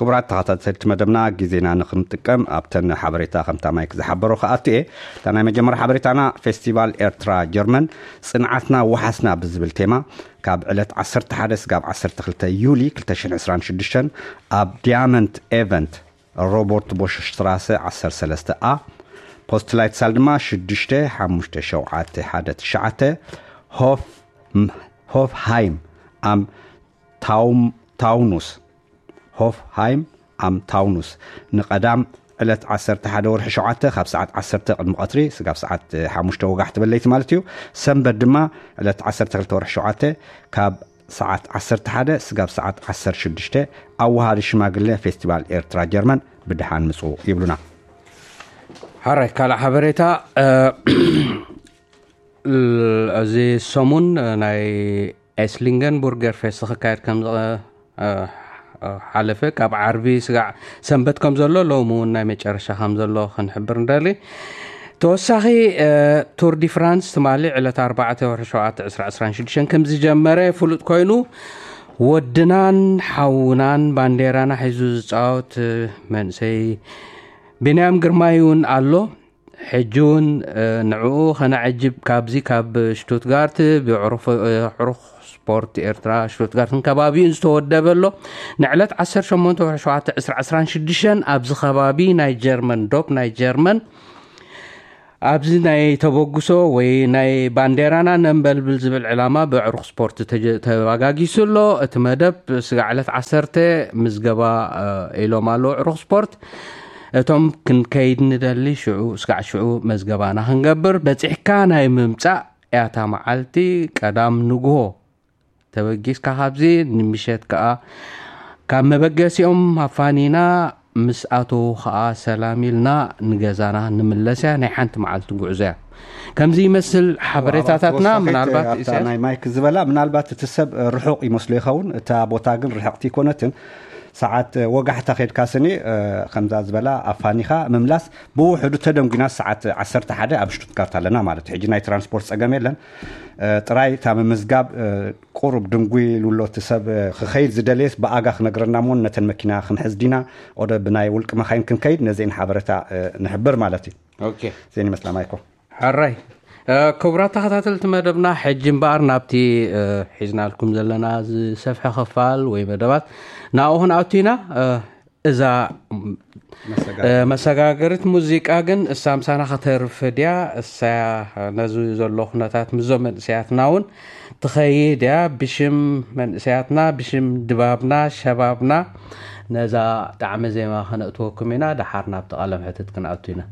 ክቡራት ተኸታተልቲ መደብና፣ ግዜና ንኽንጥቀም ኣብተን ሓበሬታ ከምታ ማይክ ዝሓበሮ ክኣቱ እየ። እታ ናይ መጀመርያ ሓበሬታና፣ ፌስቲቫል ኤርትራ ጀርመን፣ ጽንዓትና ወሓስና ብዝብል ቴማ፣ ካብ ዕለት ዓሰርተ ሓደ ስጋብ ዓሰርተ ክልተ ዩሊ ክልተ ሽሕን ዕስራን ሽዱሽተን ኣብ ዲያመንት ኤቨንት፣ ሮቦርት ቦሽ ስትራሰ ዓሰርተ ሰለስተ ኣ፣ ፖስትላይት ሳል ድማ ሽዱሽተ ሓሙሽተ ሸውዓተ ሓደ ትሽዓተ፣ ሆፍ ሆፍሃይም ኣም ታውም ታውኑስ ሆፍሃይም ኣም ታውኑስ፣ ንቐዳም ዕለት ዓሰርተ ሓደ ወርሒ ሸውዓተ ካብ ሰዓት ዓሰርተ ቅድሚ ቀትሪ ስጋብ ሰዓት ሓሙሽተ ወጋሕቲ በለይቲ ማለት እዩ። ሰንበት ድማ ዕለት ዓሰርተ ክልተ ወርሒ ሸውዓተ ካብ ሰዓት ዓሰርተ ሓደ ስጋብ ሰዓት ዓሰርተ ሽዱሽተ፣ ኣዋሃዲ ሽማግለ ፌስቲቫል ኤርትራ ጀርመን፣ ብድሓን ምጹ ይብሉና። ሓራይ ካልእ ሓበሬታ፣ እ፣ እዚ ሰሙን፣ እ፣ ናይ ኤስሊንገን ቡርገር ፌስት ክካየድ ከም ዝቐ-፣ እ፣ እ፣ ሓለፈ፣ ካብ ዓርቢ ስጋዕ ሰንበት ከም ዘሎ፣ ሎሚ እውን ናይ መጨረሻ ከም ዘሎ ክንሕብር ንደሊ። ተወሳኺ፣ እ፣ ቱር ዲ ፍራንስ ትማሊ ዕለት ኣርባዕተ ወርሒ ሸውዓተ ዕስራ ዕስራን ሽዱሽተን ከም ዝጀመረ ፍሉጥ ኮይኑ፣ ወድናን ሓውናን ባንዴራና ሒዙ ዝጻወት፣ እ፣ መንእሰይ ቢንያም ግርማይ እውን ኣሎ። ሕጂ እውን፣ እ፣ ንዕኡ ከነዕጅብ ካብዚ ካብ ሽቱትጋርት ብዕሩፍ-፣ እ፣ ዕሩኽ ስፖርት ኤርትራ ሽቱትጋርትን ከባቢኡን ዝተወደበ ኣሎ። ንዕለት ዓሰርተ ሸሞንተ ወርሒ ሸውዓተ ዕስራ ዕስራን ሽዱሽተን ኣብዚ ከባቢ ናይ ጀርመን ዶፕ ናይ ጀርመን ኣብዚ ናይ ተበግሶ ወይ ናይ ባንዴራና ነንበልብል ዝብል ዕላማ ብዕሩኽ ስፖርት ተጀ-፣ ተባጋጊሱ ኣሎ። እቲ መደብ ስጋዕ ዕለት ዓሰርተ ምዝገባ፣ እ፣ ኢሎም ኣለዉ ዕሩኽ ስፖርት። እቶም ክንከይድ ንደሊ ሽዑ፣ ስጋዕ ሽዑ መዝገባና ክንገብር። በጺሕካ ናይ ምምጻእ እያ እታ መዓልቲ፣ ቀዳም ንግሆ ተበጊስካ ካብዚ ንምሸት ከኣ ካብ መበገሲኦም ኣፋኒና ምስ ኣተዉ ከኣ ሰላም ኢልና ንገዛና ንምለስ እያ። ናይ ሓንቲ መዓልቲ ጉዕዞ እያ። ከምዚ ይመስል ሓበሬታታትና። ተወሳኺት ምናልባት ኣብታ ኢሳያስ ናይ ማይክ ዝበላ፣ ምናልባት እቲ ሰብ ርሑቕ ይመስሎ ይኸውን፣ እታ ቦታ ግን ርሕቕቲ ኣይኮነትን። ሰዓት ወጋሕታ ኸድካ ስኒ፣ እ፣ ከምዛ ዝበላ ኣፋኒኻ ምምላስ ብውሕዱ ተደንጒና ሰዓት ዓሰርተ ሓደ ኣብ ሽቱትጋርት ኣለና ማለት እዩ። ሕጂ ናይ ትራንስፖርት ጸገም የለን። እ፣ ጥራይ እታ ምምዝጋብ፣ እ፣ ቁሩብ ድንጉይ ኢሉ ኣሎ እቲ ሰብ፣ እ፣ ክኸይድ ዝደለየስ ብኣጋ ክነግረና እሞ ነተን መኪና ክንሕዝ ዲና፣ ኦደ ብናይ ውልቂ መኻይን ክንከይድ፣ ነዚአን ሓበሬታ፣ እ፣ ንሕብር ማለት እዩ። ኦኬ። እዚአን ይመስላ ማይኮ። ሕራይ። እ፣ ክቡራት ተኸታተልቲ መደብና፣ ሕጂ እምበኣር ናብቲ፣ እ፣ ሒዝናልኩም ዘለና ዝሰፍሐ ክፋል ወይ መደባት ናብኡ ክንኣቱ ኢና። እ፣ እዛ፣ መሰጋገሪት። እ፣ መሰጋገሪት ሙዚቃ ግን እሳ ምሳና ከተርፍ ድያ? እሳያ ነዚ ዘሎ ኩነታት ምስዞም መንእሰያትና እውን ትኸይድ እያ። ብሽም መንእሰያትና፣ ብሽም ድባብና፣ ሸባብና ነዛ ጣዕመ ዜማ ከነእትወኩም ኢና። ደሓር ናብቲ ቃለ መሕትት ክንኣቱ ኢና።